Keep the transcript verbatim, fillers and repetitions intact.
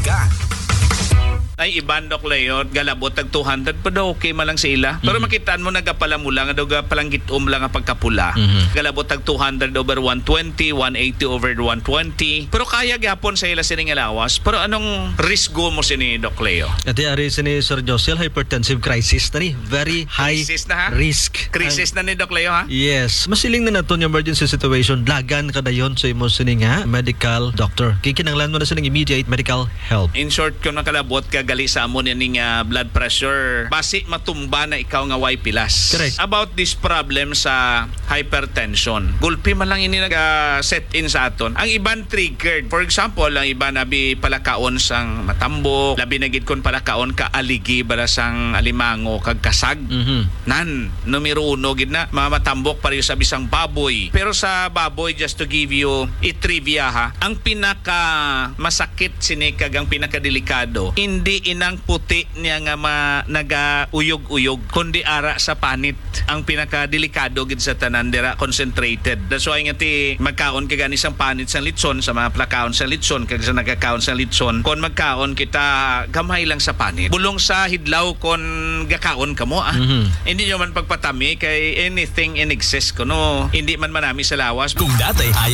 ka. Ay, iban, Doc Leo, galabot tag two hundred, pero okay man lang sa ila. Pero Mhm. makitaan mo, nagapalamula nga daw, gapalanggit-om lang nga pagkapula. Mhm. Galabot tag two hundred over one twenty, one eighty over one twenty. Pero kaya gyapon sa ila sining lawas. Pero anong risgo mo sini, Doc Leo? Ati ari sini Sir Josel, hypertensive crisis na ni. Very high Crisis na, ha? risk. Crisis na ni, Doc Leo, ha? Yes. Masiling na naton yung emergency situation. Dagan ka dayon sa imo sini nga medical doctor. Kikinanglan mo na sining immediate medical help. In short, kung nakalabot ka gali sa amo nining ah, blood pressure, basi matumba na ikaw nga way pilas. Correct. About this problem sa hypertension, gulpi man lang ini naga-set in sa aton. Ang iban triggered. For example, ang iban abi palakaon sang matambok, labi na gid kon palakaon ka aligi bala sang alimango kag kasag. Mhm. Nan, numero uno gid na, mga matambok pareho sa bisang baboy. Pero sa baboy, just to give you a trivia ha, ang pinaka masakit sini kag ang pinakadelikado, hindi inang puti niya nga ma, nagauyog-uyog, kundi ara sa panit. Ang pinakadelikado gid sa tanan dira, concentrated. That's why nga ti magkaon ka gani sang panit sang litson, sa mga plakaon sang litson, kag sa nagakaon sang litson, kon magkaon kita, gamay lang sa panit. Bulong sa hidlaw kon gakaon kamo, ah. Mhm. Hindi nyo man pagpatami kay anything in excess kuno, hindi man manami sa lawas. Kung dati ayaw